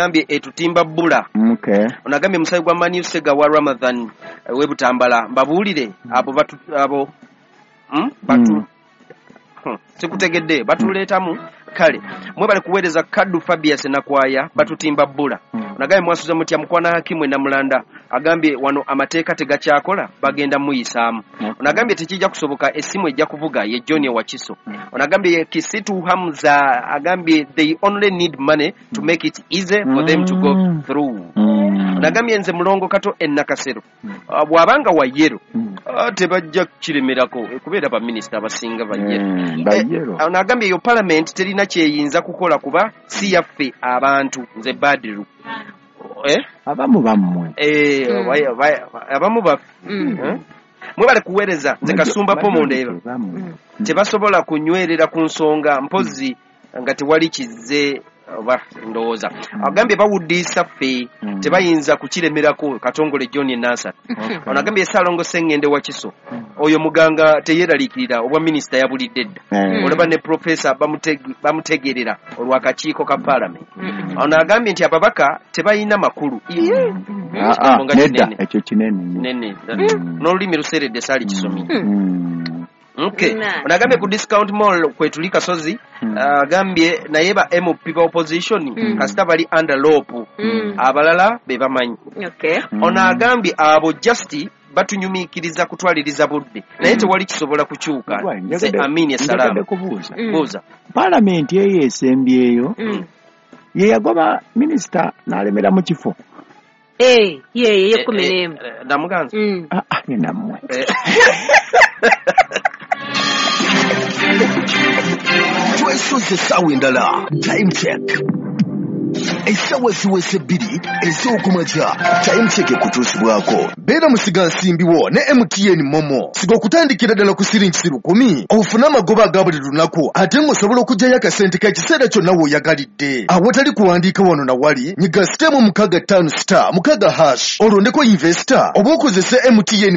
Agambye etutimba bbula. Ono agambye musayi gwa Manu Sega wa Ramadhan w'e Butambala, mbabuulire abo batu abo batu sikutegedde batuleetamu. Kale mwebale kuweereza. Kaddu Fabius Nakwaya, batutimba bbula. Nagambye mwasuze mutya mukwana Hakimu Enamulanda. Agambye wano amateeka tegakyakola, bagenda muyisaamu. Ono agambye tekijja kusoboka, essimu ejja kuvuga. Ye John Wakiso. Ono agambye Kisitu Hamza, agambye they only need money to make it easy for them to go through. Ono agambye nze Mulongo Kato Enakasero. Bw'abanga wa yellow, tebajja kukiremerako kubeera baminisita abasinga ba yellow. Ba yellow. Ono agambye eyo parliament terina kyeyinza kukola kuba si yaffe abantu. Nze Badiru, eh? Abamu bammwe. Abamu baffe. Eh? Mwebale kuweereza. Nze Kasumba Pomondeeba. Bammwe. Tebasobola kunywerera ku nsonga mpozi nga tewali kizze oba ndowooza. Agambye bawuddiisa ffe, tebayinza kukiremerako. Katongole John Enansa. Ono agambye Saalongo Sengende wa Kiso, oyo muganga teyeraliikirira, obwa minisita yabulidde dda. Olaba ne profesa bamutegerera olw'akakiiko ka paalamenti. Ono agambye nti ababaka tebalina makulu. Ah, ah, Ekigambo nga nedda kinene. Ekyo kinene nnyo. Nene n'olulimi luseredde, saali kisomye. Okay. Nice. Ono agambye ku Discount Mall kwetuli Kasozi. Agambye naye ba MP ba opposition kasita bali under LOP, abalala be bamanyi. Ono agambye abo just batunyumiikiriza kutwaliriza budde, naye tewali kisobola kukyuka. Gwa, Nze Amini njagadde Esalaamu. kubuuza. Buuza. Paalamenti eyo esembyeyo ye yagoba minisita n'alemera mu kifo? Eh, ye ye 11. Namuganza. Ah, ah, ne nammwe. Twesoze essaawa endala. Time Check, essaawa ziweze 2 ez'okumakya. Time Check ekutuusibwako beera musigansimbiwo ne MTN MoMo. Siga okutandikira ddala ku siringi 1,000 ofune amagoba aga buli lunaku, ate ng'osobola okuggyayo akasente k'ekiseera kyonna w'oyagalidde awatali kuwandiika wano na wali. Nyiga star 65*6# olondeko investor oba okozese MTN.